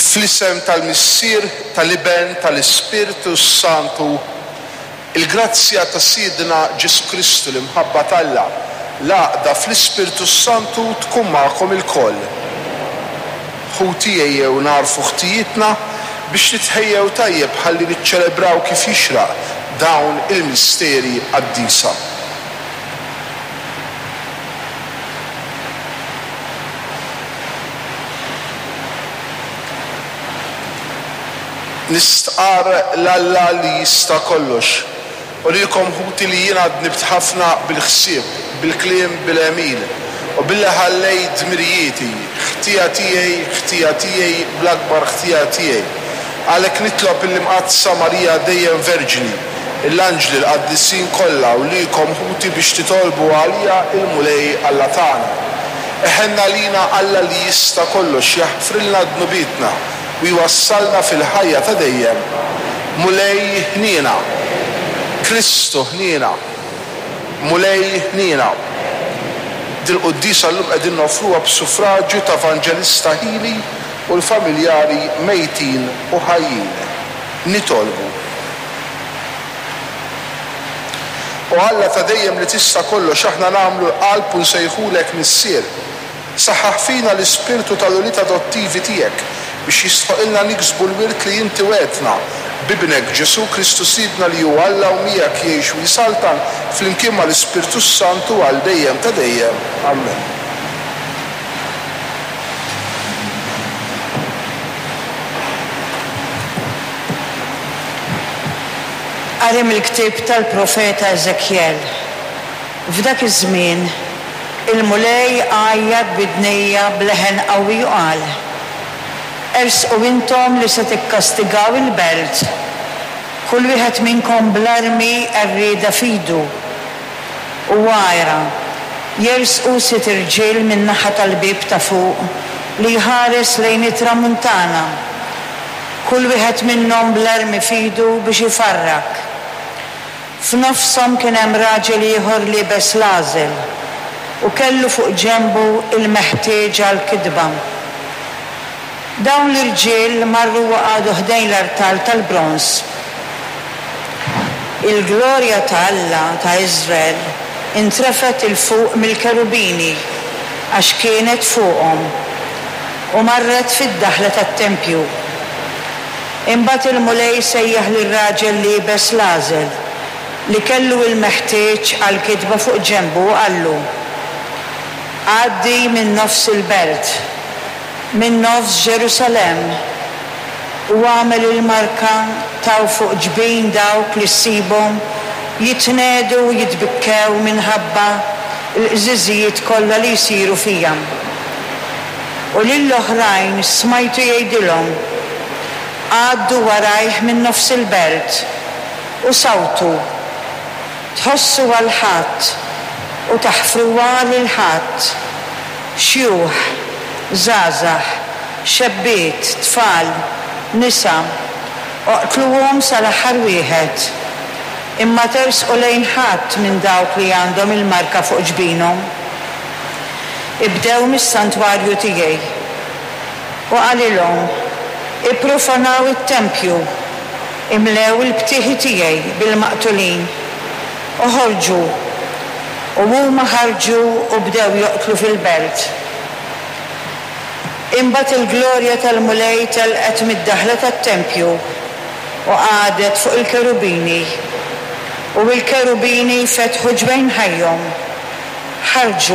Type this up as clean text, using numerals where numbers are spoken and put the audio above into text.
Fl-isem tal-Missier, tal-Iben, tal-Ispirtu s-Santu, il-grazzja ta' Sidna Ġesù Kristu, l-imħabba t'Alla, l-għaqda fl-Ispirtu s-Santu tkun magħkom ilkoll. Ħuti ejjew nagħrfu ħtijietna biex nitħejjew tajjeb ħalli niċċelebraw kif jixraq dawn il-misteri qaddisa. Nistqarr 'l Alla li jista' kollox, u lilkom ħuti li jiena dnibt ħafna bil-ħsieb, bil-kliem, bil-għemil, u billi ħallejt dmirijieti, ħtija tiegħi, ħtija tiegħi, bl-akbar ħtija tiegħi. Għalhekk nitlob lill-Imqaddsa Marija dejjem Verġni, l-anġli, l-qaddisin kollha u lilkom ħuti biex titolbu għalija il-Mulej Alla tagħna. Iħenn għalina Alla li jista' kollox jaħfrilna dnubietna u jwassalna fil-ħajja ta' dejjem. Mulej ħniena. Kristu ħniena. Mulej ħniena. Dil-quddiesa llum qegħdin noffruha b'suffraġju ta' Vanġelista Hili u l-familjari mejtin u ħajjin. Nitolbu. O Alla ta' dejjem li tista' kollox aħna nagħmlu l-qalb u nsejħulek Missier. Saħħaħ fina l-ispirtu tal-ulied adottivi tiegħek biex jistħoqilna niksbu l-wirt li inti wegħdtna, b'Ibnek Ġesù Kristu Sidna li hu Alla u miegħek jgħix u jsaltan flimkien mal-Ispirtu s-Santu għal dejjem ta' dejjem. Ammen. Qari mill-ktieb tal-profeta Eżekjel. F'dak iż-żmien, il-Mulej għajjat b'idnejja b'leħen qawwi u qal, Ersqu intom li se tikkastigaw il-belt, kull wieħed minnkom bl-armi għerrieda f'idu. U ara, jersqu sitt irġiel min-naħa tal-bieb ta' fuq li jħares lejn it-tramuntana, kull wieħed minnhom bl-armi f'idu biex ifarrak. F'nofshom kien hemm raġel ieħor liebes l-għażel u kellu fuq ġenbu l-meħtieġ għall-kitba. Dawn l-irġiel marru u qagħdu ħdejn l-artal tal-bronż. Il-glorja ta' Alla ta' Iżrael intrefgħet 'il fuq mill-kerubini, għax kienet fuqhom, u marret fid-daħla tat-tempju. Imbagħad il-Mulej sejjaħ lir-raġel liebes l-għażel, li kellu il-meħtieġ għall-kitba fuq ġenbu u qallu, Għaddi minn nofs il-belt, minn nofs Ġerusalemm, u agħmel il-marka ta' fuq ġbin dawk li ssibhom jitnegħdu u jitbikkew minħabba l-qżiżijiet kollha li jsiru fija. U lill-oħrajn smajtu jgħidilhom, Għaddu warajh minn nofs il-belt, u sawtu. Tħossu għal ħadd, u taħfruha lil ħadd, xjuħ, żgħażagħ, xebbiet, tfal, nisa, oqtluhom sal-aħħar wieħed. Imma tersqu lejn ħadd minn dawk li għandhom il-marka fuq ġbinhom. Ibdew mis-santwarju tiegħi. U qalilhom, Ipprofanaw it-tempju, imlew il-btieħi tiegħi bil-maqtulin. Oħorġu. U huma ħarġu u bdew joqtlu fil-belt. Imbagħad il-glorja tal-Mulej telqet mid-daħla tat-tempju u qagħdet fuq il-kerubini. U l-kerubini fetħu ġwejnħajhom. Ħarġu.